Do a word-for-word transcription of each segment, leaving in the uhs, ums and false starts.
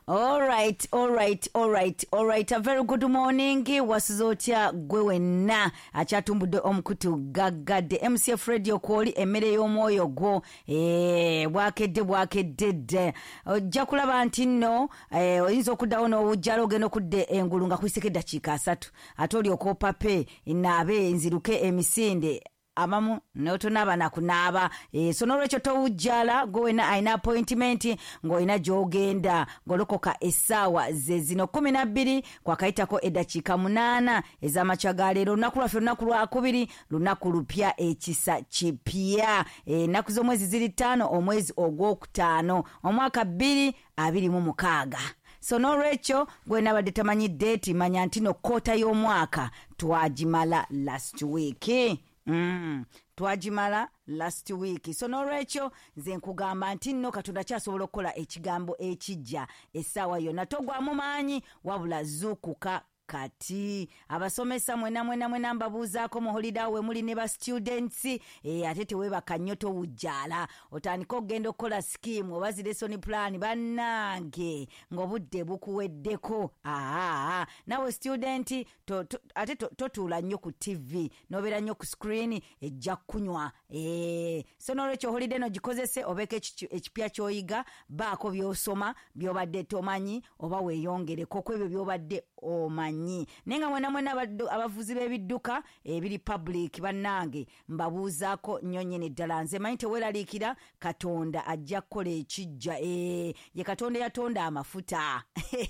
Alright, alright, alright, alright. A very good morning. Wasuze otya gwe wenna akyatumbudde omukutu gaggadde M C F Radio kwoli emmere y'omwoyo gwo. Eh, bwakedde bwakedde dde. Ojja kulaba nti nno eh, oyinza okuddawo n'owujjala ogenda okudda engulu nga kuyiseko eddakiika asatu. Ate olyoka opape naabe nziruke emisinde. Abamu n'otonaaba na kunaaba. E, so n'olwekyo towujjala gwe wenna alina appointment ng'olina gy'ogenda ng'olokoka essaawa ze zino kkumi na bbiri kwakayitako eddakiika munaana ez'amakya ga leero. Olunaku lwaffe lunaku lwakubiri, lunaku lupya, ekisa kipya. Ennaku z'omwezi ziri ttaano, omwezi ogwokutaano, omwaka bbiri abiri mu mukaaga. So n'olwekyo gwe nabadde tamanyi date, manya nti no kkoota y'omwaka twagimala last week. Mm. Twagimala last week. So n'olwekyo nze nkugamba nti nno Katonda kyasobola okukola ekigambo ekijja essaawa yonna. Togwamu maanyi wabula zuukuka kati. Abasomesa mwena mwena mwena mbabuuzaako mu holiday we muli ne ba students, eh, ate teweebaka nnyo towujjaala. Otandika okugenda okukola scheme oba zi lesson plan bannange ng'obudde bukuweddeko. Aa, nawe student to, to, ate totuula nnyo ku T V n'obeera nnyo ku screen ejja kunywa. Eh, so n'olwekyo holiday no gikozese obeeko ekipya ky'oyiga, baako by'osoma by'obadde tomanyi oba weeyongereko ku ebyo by'obadde omanyi. Naye nga mwena mwena abavuzi b'ebidduka ebiri public bannange mbabuuzaako nnyo nnyini ddala. Nze manyi teweeraliikira, Katonda ajja kukola ekijja. Eh, ye Katonda yatonda amafuta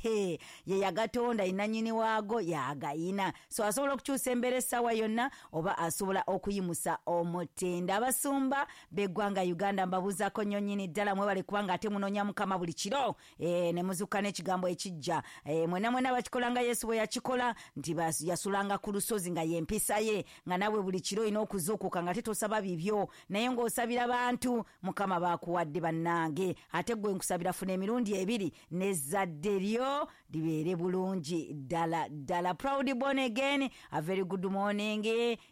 ye yagatonda, innannyini waago yagayina. So asobola okukyusa embeera essaawa yonna oba asobola okuyimusa omutendo. Abasumba b'eggwanga Uganda mbabuuzaako nnyo nnyini ddala, mwebale kubanga ate munoonya Mukama buli kiro, eh, ne muzuuka n'ekigambo ekijja. Eh, mwena mwena bakikola nga Yesu bwe yakikola nti yasulanga ku lusozi nga y'empisa ye, nga nawe buli kiro olina okuzuukuka nga tetosaba bibyo naye ng'osabira bantu Mukama baakuwadde bannange. Ate gwe nkusabira funa emirundi ebiri n'ezzadde lyo libeere bulungi ddala ddala. Proud born again, a very good morning.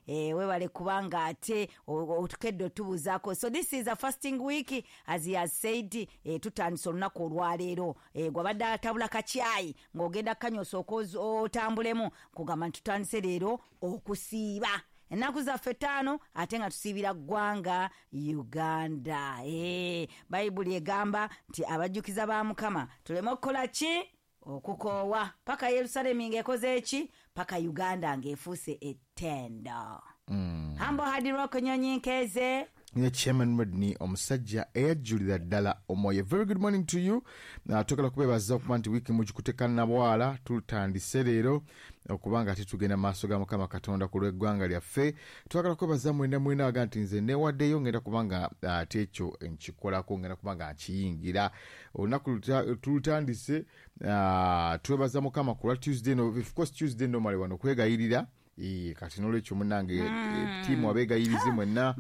Eh, webale kubanga ate otukedde otubuuzaako. So this is a fasting week as he has said. Eh, tutandise olunaku olwaleero. Eh, gwabadde atabula kacyayi ng'ogenda kanywa osooka otambulemu, kugamba nti tutandise leero okusiiba ennaku zaffe ttaano ate nga tusiibira ggwanga Uganda. Eh, Bayibuli egamba nti abajjukiza ba Mukama tuleme okukola ki? Okukoowa paka Yerusalemi ng'ekoze eki, paka Uganda ng'efuuse ettendo. Mm. Humble Hard Rock Nyonyi Nkeze ne Chairman Rodney omusajja eyajjulira ddala omwoyo. Very good morning to you. Uh, twagala kubeebaza okuba nti wiiki mugikutekana na bwala. Tutandise leero okubanga ate tugenda maaso ga Mukama Katonda ku lw'eggwanga lyaffe. Twagala kwebaza mwena mwena aga nti nze neewaddeyo ngenda kubanga ate ekyo nkikolako, ngenda kubanga nkiyingira. Olunaku tulutandise, uh, twebaza Mukama ku lwa Tuesday. No, of course Tuesday normally wano kwegayirira. E, kati n'olwekyo munnange mm. Ttiimu abeegayirizi mwenna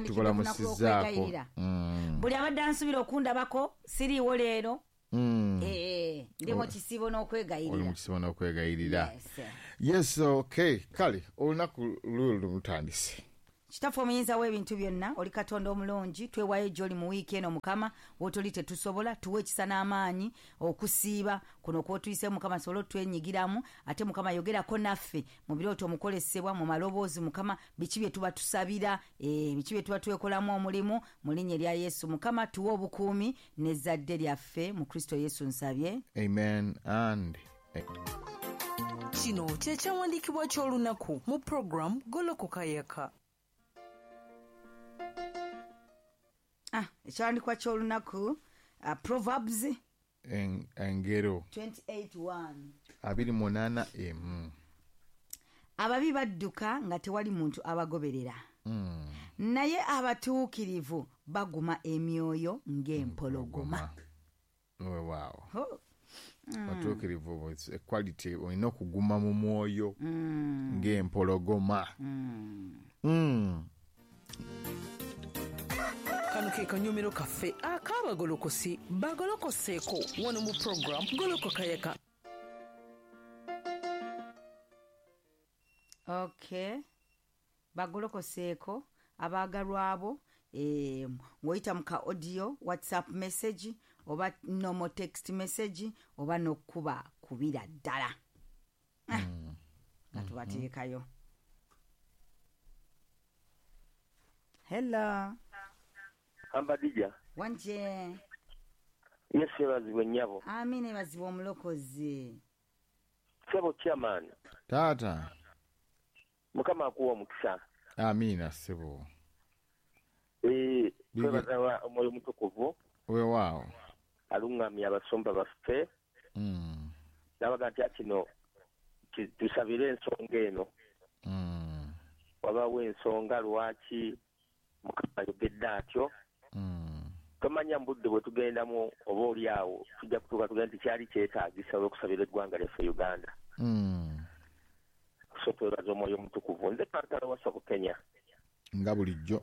tubalamusizaako. Mm. Buli abadde ansubira okundabako siriiwo leero. Mm. E, ndi mu kisiibo n'okwegayirira. Oli mu kisiibo n'okwegayirira. Yes. Yes, okay. Kale olunaku lulwo lutandise. Kitaffe omuyinza w'ebintu byonna, oli Katonda omulungi, twewaayo gy'oli mu wiiki eno Mukama, w'otoli tetusobola, tuwe ekisa n'amaanyi okusiiba kuno kw'otuyise Mukama, sobole otwenyigiramu. Ate Mukama yogerako naffe mu birooto omukolesebwa mu maloboozi Mukama, biki bye tuba tusabira, eh, biki bye tuba twekolamu omulimu mu linnya erya Yesu. Mukama tuwe obukuumi n'ezzadde lyaffe mu Kristo Yesu nsabye. Amen and Kino kye kyawandiikibwa ky'olunaku mu program Golokoka Yaka. Ah, ekyawandiikibwa ky'olunaku, uh, Proverbs En, engero twenty-eight one abiri munaana emu. Ababi badduka nga tewali muntu abagoberera. Mm. Naye abatuukirivu baguma emyoyo ng'empologoma. Weewaawo. Oh. Mm. Abatuukirivu equality olina okuguma mu mwoyo mm. ng'empologoma. Mm. Mm. Kano ke kanyomero kaffe ak'abagolokosi bagolokoseeko wano mu program Golokoka Yaka. Okay, bagolokoseeko abaagalwa abo, eh, ng'oyita mu ka audio WhatsApp message Oba normal text message oba n'okuba kubira ddala. Ah, nga tubateekayo. Hello. Ambadija. Wanje. Yesu yeebazibwe nnyabo. Amina yeebazibwe omulokozi. Ssebo chairman. Taata. Mukama akuwa omukisa. Amina ssebo. Eh, twebaza omwoyo omutukuvu. Weewaawo. Alungamya abasumba baffe. Mm. N'abaga nti kino tusabire ensonga eno. Mm. Wabaawo ensonga lwaki Mukama ayogedde atyo. Mm. Tomanya mu budde bwe tugendamu oba oli awo tujja kutuuka tugenda nti kyali kyetaagisa olw'okusabira eggwanga lyaffe Uganda. Mm. So twebaza omwoyo omutukuvu. Nze Kansala wa Bukenya. Nga bulijjo.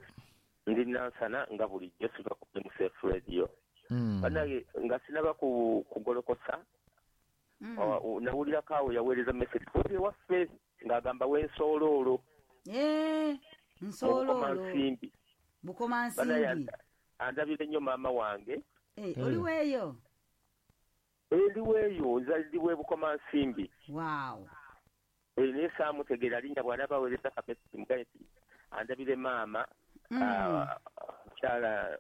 Ndi Nansana nga bulijjo siva ku M C F Radio. Mm. Bannange nga sinaba ku kugolokosa Mm. nawulirako awo yaweereza message oli ewaffe ng'agamba w'ensooloolo. Eh, nsooloolo. Bukomansimbi. Bukomansimbi. Andabire nnyo maama wange. Eh, oli weeyo? Ndi weeyo, nze ndi we Bukomansimbi. Wow. Eh, naye saamutegeera linnya bw'anaaba aweereza ka message mugambe nti andabire maama. Mm. Mukyala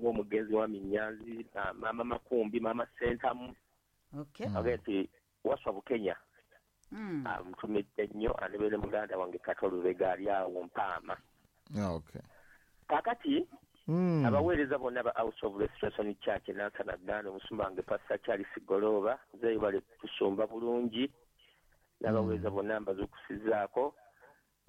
w'omugenzi wa Minyanzi, maama Makumbi, maama Sentamu. Okay. Agambye nti Waswa Bukenya. Mm. Amutumidde nnyo andabire muganda wange Kato Lubega ali awo Mpaama. Okay. Kaakati Mm. abaweereza bonna ba House of Restoration Church Nansana Gganda, omusumba wange Pastor Charles Goloba, nze bali tusumba bulungi n'abaweereza bonna mbazuukusizzaako.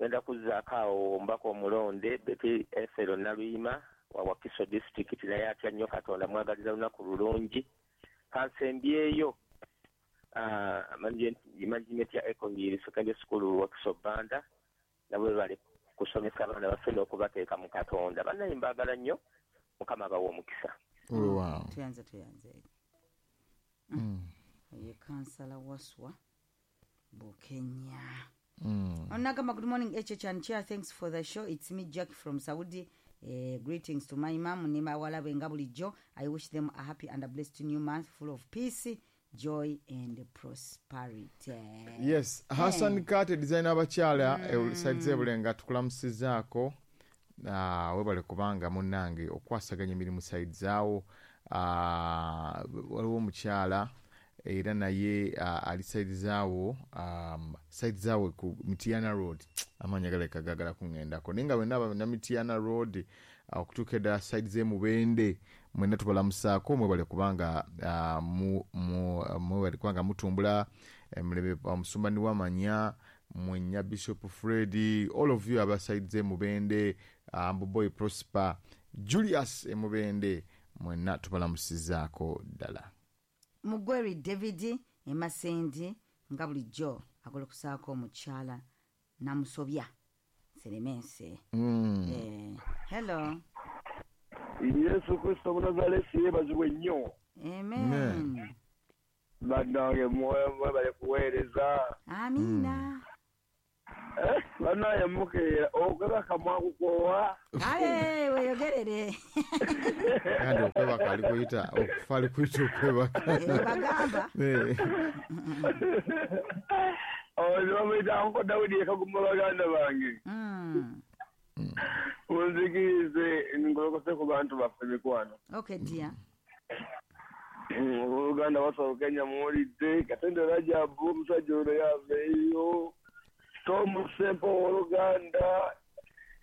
Ngenda kuzzaako awo omubaka omulonde Betty Ethel Naluyima wa Wakiso District, naye atya nnyo Katonda, mwagaliza lunaku lulungi. Kansembyeyo management ya Eco-Hill Secondary School Wakiso Banda, nabo bali kusomesa abaana baffe n'okubateeka mu Katonda. Bannaye mbaagala nnyo, Mukama abawe omukisa. Weewaawo. Tuyanze tuyanze. Mm. Ye Kansala Waswa Bukenya. Mm. Onagamba, good morning H H and Chair, thanks for the show. It's me Jack from Saudi. Uh, greetings to my mom ne bawala be nga bulijjo. I wish them a happy and a blessed new month full of peace, joy and prosperity. Yes, Hassan Kate designer abakyala mm. side z'ebulenga tukulamusizaako. Ah, webale kubanga munnange okwasaganya emirimu side zaawo. Ah, waliwo omukyala era naye uh, ali side zaawo, um, side zaawo ku Mitiana Road. Amanya galeka gagala kuŋŋendako naye nga bwenna na Mitiana Road okutuuka eddala side z'emubende mwenna tubalamusaako. Mwebale kubanga uh, mu, mu, mwebale kubanga mutumbula emirembe omusumba Niwamanya mwenya Bishop Freddy, all of you aba side z'emubende, uh, Mbuboy Prosper, Julius emubende, mwenna tubalamusizaako ddala. Mugweri David Emasendi nga bulijjo agolokusaako omukyala Namusobya Seremense. Mm. Eh, hello. Yesu Kristo Munazaresi yeebazibwe nnyo. Amen. Bannange mwebale kuweereza. Amina. Eh, bannange mukeera okwebaka mwakukoowa. Kale weeyogerere. Kandi okwebaka ali kuyita okufa ali kuyita okwebaka. Bagamba. Oyo bamuyita Uncle Dawudi Kaguma baganda bange. Mm. Munzikirize ngolokose ku bantu baffe mikwano. Okay dear. Oluganda Waswa Bukenya muwulidde, Katende Rajabu omusajja ono yaveeyo, Tom Sempo oluganda,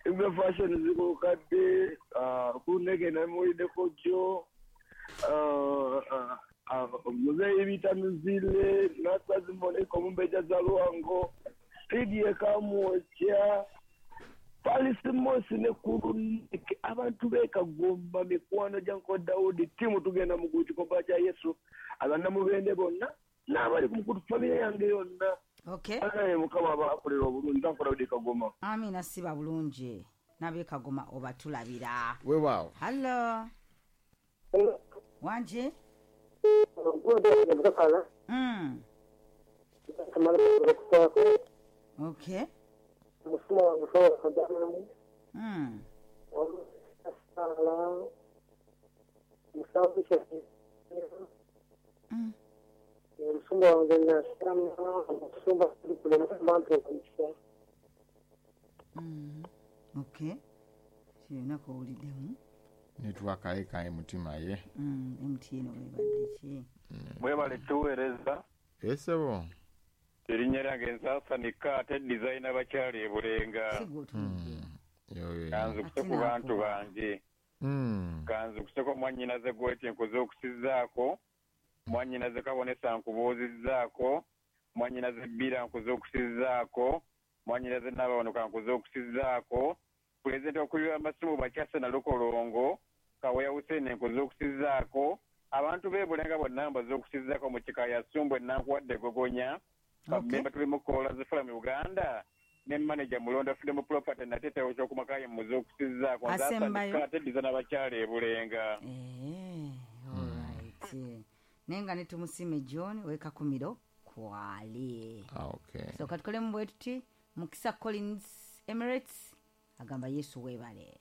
Ebwe Fashion zikulukadde, Kuneke namuwuliddeko jjo, Muzeeyi Bita Muzile, Nasazi Moneko Omumbejja Zalwango, Lydia Kamwokya, Paris Mosi ne Kuluneke, abantu b'e mikwano gya Uncle Dawudi, ttiimu tugenda mu kikomba kya Yesu, abannamubende bonna n'abali ku mukutu famire yange yonna. Okay. Bannange Mukama abakolera obulungi, Uncle Dawudi Kagoma. Amina siba bulungi. N'ab'e Kagoma obatulabira. Weewaawo. Hello. Wanje? Mm. Okay. Mm. Omusumba wange nasama omusumba kulemba omukisa. Okay, kirina kowuliddemu. Network aleka mutima ye. Mm, M T N webadde ki? Mwebale tuweereza. Esebo. Erinnya lyange Nsasanika, ate designer bakyali ebulenga. Sigwe otunudde. Yoyo. Kanzukuse ku bantu bange. Mm. Kanzukuseko mwannyinaze gweti nkoze okusizaako, mwannyinaze Kabonesa nkubuuzizzaako, mwannyinaze Bbira nkoze okusizaako, mwannyinaze Nabawanuka nkoze okusizaako, pulezidenti okubira amasimu Bakyase na Lukolongo, Kaweya Hussein nkoze okusizaako, abantu b'e Bulenga bonna mbaze okusizaako mu kika ya Ssumbwe Nankuwadde Gogonya, bamemba tuli mu Kola Zifula mu Uganda, ne manager Mulonda Freedom Property natete okyokumakaye muze okusizaako. Asembayo. Nsasanika ate designer bakyala e Bulenga. Eh, alright. Naye nga ne Tumusiime John wekakumiro kwali. Ah, okay. So katukolemu bwe tuti. Mukisa Collins Emirates agamba Yesu weebale.